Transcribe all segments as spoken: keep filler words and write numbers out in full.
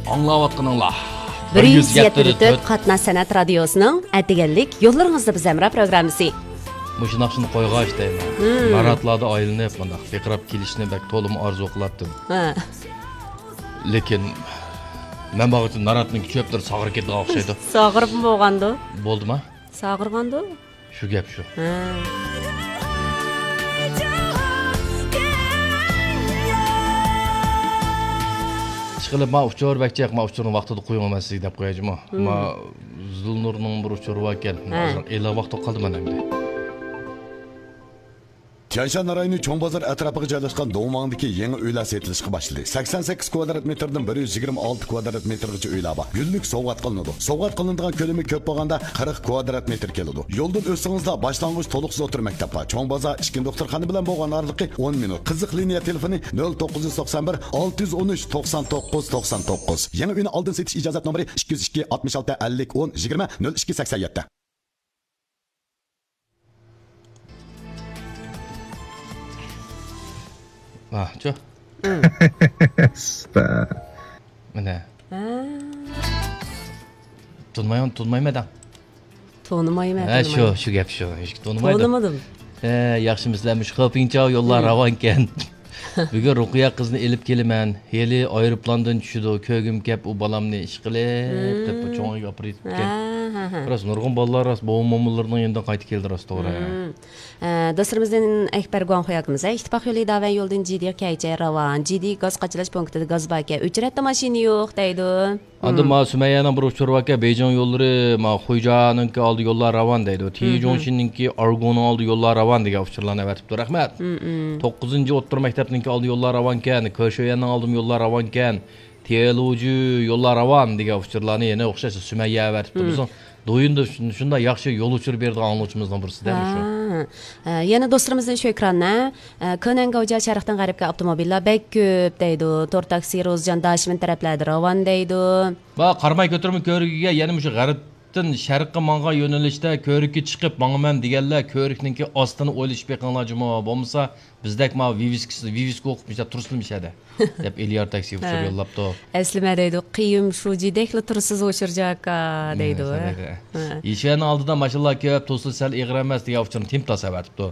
ئاڭلاۋاتقىنىڭلار بىر يۈز يەتتە تۆت قاتناش سەنئەت رادىيوسىنىڭ ئەتىگەنلىك يوللىرىڭىزدا بىز ھەمراھ پروگراممىسى. مۇشۇ ناخشىنى قويغاچ دەيمەن. ناراتلاردا ئايلىنىپ مۇنداق پىرقىراپ كېلىشنى بەك تولىمۇ ئارزۇ قىلاتتىم. ھە. لېكىن مەن بارغۇچە ناراتنىڭ چۆپلىرى ساغىرىپ كېتىدىغان ئوخشايدۇ. ساغىرىپمۇ بولغاندۇ؟ بولدىما؟ ساغىرغاندۇ؟ شۇ گەپ شۇ. ھە. ئىشقىلىپ، ما ئۇچۇر بەك جىق، ما ئۇچۇرنى ۋاقتىدا قويۇڭ، مەن سىزگە دەپ قويايچۇ ما. ما زۇلنۇرنىڭ بىر ئۇچۇرى باركەن. ھە. ئېلان ۋاقتى قالدى مانا ئەمدى. تيەنشان رايونى چوڭ بازار ئەتراپىغا جايلاشقان دوڭماڭدىكى يېڭى ئۆيلەر سېتىلىشقا باشلىدى. سەكسەن سەككىز كۋادرات مېتىردىن بىر يۈز يىگىرمە ئالتە كۋادرات مېتىرغىچە ئۆيلەر بار. گۈللۈك سوۋغات قىلىنىدۇ. سوۋغات قىلىنىدىغان كۆلىمى كۆپ بولغاندا قىرىق كۋادرات مېتىر كېلىدۇ. يولدىن ئۆتسىڭىزلا باشلانغۇچ تولۇقسىز ئوتتۇرا مەكتەپ بار. چوڭ بازار ئىككىنچى دوختۇرخانا بىلەن بولغان ئارىلىقى ئون مىنۇت. قىزىق لىنىيە تېلېفونى نۆل توققۇز يۈز توقسان بىر، ئالتە يۈز ئون ئۈچ، توقسان توققۇز، توقسان توققۇز. يېڭى ئۆينى ئالدىن سېتىش ئىجازەت نومۇرى ئىككى يۈز ئىككى، ئاتمىش ئالتە، ئەللىك، ئون، يىگىرمە، نۆل ئىككى سەكسەن يەتتە. ۋاھ، چۇ. ئۇستا. مانا. ھە. تونۇمايمەن، تونۇمايمەن دەڭ. تونۇمايمەن، ھە، شۇ، تونۇمايمەن. شۇ گەپ شۇ. ھېچ تونۇمايدۇ. تونۇمىدىم. ھە، ياخشىمۇسىلەر؟ مۇشۇ خېپىڭچاۋ يوللار راۋانكەن. بۈگۈن رۇقىيە قىزنى ئېلىپ كېلىمەن. ھېلى ئايروپىلاندىن چۈشىدۇ. كۆرگۈم كەپ ئۇ بالامنى ئىشقىلىپ، دەپ چوڭ ئۆيگە ئاپىرىپ كەتكەن. ھە، ھە، ھە. راست، نۇرغۇن بالىلار راست بوۋا مومىلىرىنىڭ يېنىدىن قايتىپ كەلدى راست، توغرا. ھە. ئە، دوستلىرىمىزدىن ئەكبەر گۇاڭخۇي ئاكىمىز، ھە، ئىتتىپاق يولى داۋەن يولىدىن جىدىيغا كەيچە راۋان. جىدىي گاز قاچىلاش پونكىتىدا گاز باركەن. ئۆچرەتتە ماشىنا يوق دەيدۇ. ئاندىن ما سۈمەييەنىڭ بىر ئۇچۇرى باركەن، بېيجىڭ يوللىرى، ما خۇيجانىڭكى ئالدى يوللار راۋان دەيدۇ. تيېنجۇڭشىننىڭكى ئارگۇنىڭ ئالدى يوللار راۋان دېگەن ئۇچۇرلارنى ئەۋەتىپتۇ. رەھمەت. توققۇزىنچى ئوتتۇرا مەكتەپنىڭكى ئالدى يوللار راۋانكەن، كېشۆيەننىڭ ئالدىمۇ يوللار راۋانكەن، تيېلۇجۈ يوللار راۋان دېگەن ئۇچۇرلارنى يەنە ئوخشاش سۈمەييە ئەۋەتىپتۇ. بىزنىڭ دويۇندا شۇن-، شۇنداق ياخشى يول ئۇچۇرى بېرىدىغان ئاڭلىغۇچىمىزنىڭ بىرسى دە مۇشۇ. ھە، ھە، يەنە دوستلىرىمىزدىن شۆكران، ھە، ئە، كۆنەن گاۋجيا شەرقتىن غەربكە ئاپتوموبىللار بەك كۆپ دەيدۇ. تور تاكسى، روزجان، داشىمىن تەرەپلەردە راۋان دەيدۇ. ۋە قاراماي كۆتۈرمە كۆۋرۈكىگە يەنە مۇشۇ غەربتىن شەرققە ماڭغان يۆنىلىشتە كۆۋرۈككە چىقىپ ماڭىمەن دېگەنلەر كۆۋرۈكنىڭكى ئاستىنى ئويلىشىپ بېقىڭلار جۇمۇ. بولمىسا بىزدەك ما ۋىۋىسكىسى، ۋىۋىسكا ئوقۇپ مۇشۇنداق تۇرسىلا مۇشۇ يەردە. دەپ ئېلىيار تاكسى ئۇچۇر يوللاپتۇ. ئەسلىمە دەيدۇ، قىيىم شۇجىدەكلا تۇرسىز ئۇچۇر جاكا دەيدۇ. ھە. يېشەننىڭ ئالدىدا ماشىنىلار كۆپ، توسۇلۇش سەل ئېغىر ئەمەس دېگەن ئۇچۇرنى تېمتاس ئەۋەتىپتۇ.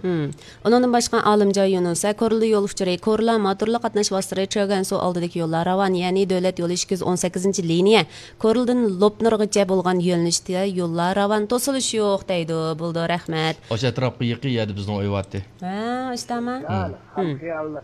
ئۇنىڭدىن باشقا ئالىمجان يۇنۇس، ھە، كورلا يول ئۇچۇرى، كورلا موتورلۇق قاتناش ۋاسىتىلىرى چۆگەنسۇ ئالدىدىكى يوللار راۋان، يەنى دۆلەت يولى ئىككى يۈز ئون سەككىزىنچى لىنىيە، كورلىدىن لوپنۇرغىچە بولغان يۆنىلىشتە يوللار راۋان، توسۇلۇش يوق دەيدۇ. بولىدۇ، رەھمەت. ئاشۇ ئەتراپقا يېقىن يەردە بىزنىڭ ئۆي بارتى. ھە، ئاشتاما. ھە.